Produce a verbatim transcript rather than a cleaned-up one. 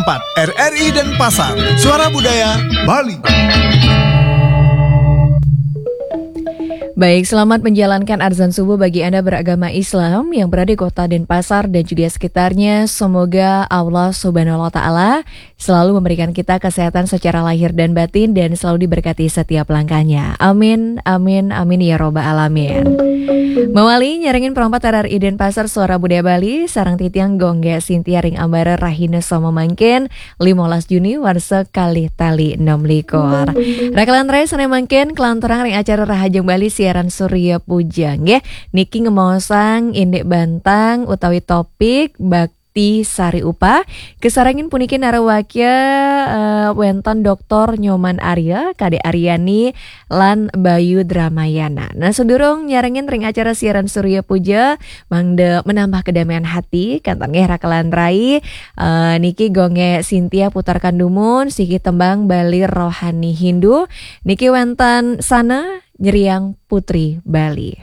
empat R R I Denpasar, Suara Budaya Bali. Baik, selamat menjalankan azan subuh bagi Anda beragama Islam yang berada di kota Denpasar dan juga sekitarnya. Semoga Allah Subhanahu wa Ta'ala selalu memberikan kita kesehatan secara lahir dan batin dan selalu diberkati setiap langkahnya. Amin, amin, amin ya robbal alamin. Mawali nyarengin perempat R R I Denpasar, Suara Budaya Bali, sareng titiang Gongge Sintia ring ambara rahina sama mangkin, limolas Juni warsa kalih tali enam likur. Rakalan rai sane mangkin kelanturang ring acara Rahajeng Bali siaran Surya Puja nggih. Niki ngemaosang indik bantang utawi topik bakti sari upah. Kesarengin puniki narawakya eh, wenten Doktor Nyoman Arya, Kadek Aryani, lan Bayu Dramayana. Nah, sedurung nyarengin ring acara siaran Surya Puja, mangda menambah kedamaian hati, kanten nggih rakalan rai. Eh, niki Gongge Sintia putarkan dumun siki tembang Bali Rohani Hindu. Niki wenten Sana Nyeriang Putri Bali.